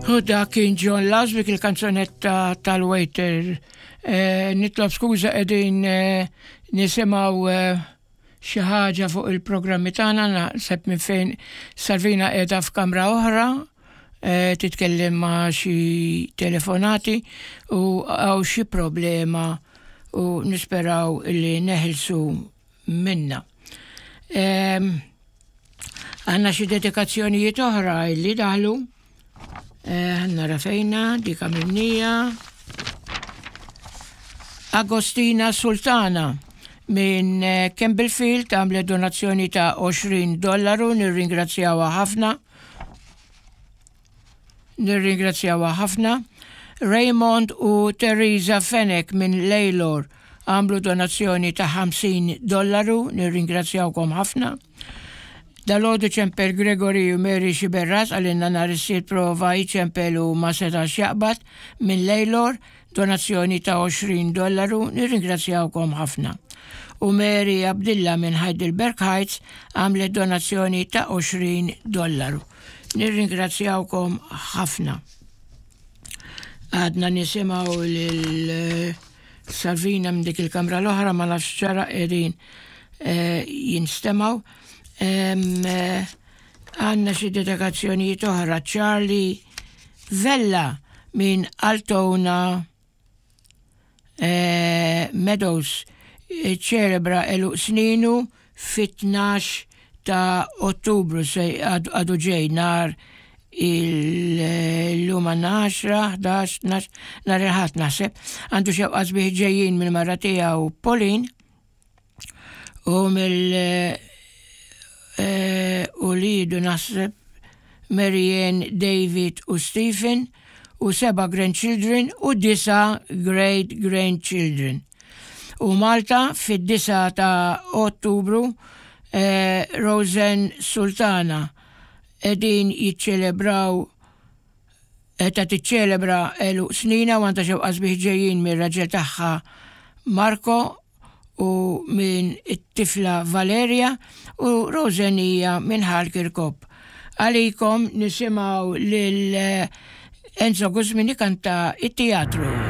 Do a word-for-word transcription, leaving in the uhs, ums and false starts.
U dak kien John Lasvik, il-kanzunetta tal-waiter. Eh, nitlob skuża, qegħdin eh, nisimgħu eh, xi ħaġa fuq il-programmi tagħna, naħseb minn fejn Salvina qiegħda f'kamra oħra, eh, titkellem ma' xi telefonati u hawn xi problema u nisperaw li neħilsu minna. Em, Għandna xi dedikazzjonijiet oħra illi daħlu. Eh, Nara fejna, dik għamilnieha. Agostina Sultana minn eh, Campbellfield għamlet donazzjoni ta' għoxrin dollaru, nirringrazzjawha ħafna. Nirringrazzjawha ħafna. Raymond u Teresa Fenech minn Lalor għamlu donazzjoni ta' ħamsin dollaru, nirringrazzjawkom ħafna. Dalgħodu ċempel Gregory u Mary Xiberras, għalinna nhar is-Sibt prova jċempel u ma setax jaqbad, minn Lalor, donazzjoni ta' għoxrin dollaru, nirringrazzjawkom ħafna. U Mary Abdilla minn Heidelberg Heights għamlet donazzjoni ta' għoxrin dollaru. Nirringrazzjawkom ħafna. Għadna nisimgħu lil eh, Salvina minn dik il-kamra l-oħra, ma nafx ċara qegħdin eh, jinstemgħu. Em, eh, Għandna xi dedikazzjonijiet oħra. Charlie Vella minn Altona eh, Meadows ċelebra għeluq sninu fit-tnax ta' Ottubru, se għadu ġej, nhar il-lum għaxra, ħdax, tnax, nhar il-Ħadd naħseb. Għandu xewqa sbieħ ġejjin mill-mara tiegħu Pauline u mill eh, u lidu naħseb Marianne, David u Stephen u seba' grandchildren u disa' great grandchildren. U Malta fid-disgħa ta' Ottubru eh, Rosen Sultana qegħdin jiċċelebraw, ta' tiċċelebra għeluq snina u għandha xewqa sbieħ ġejjin mir-raġel tagħha Marco u minn it-tifla Valeria, u Rosen hija minn Ħal Kirkop. Għalikom nisimgħu lil eh, Enzo Guzmini kanta it-teatru.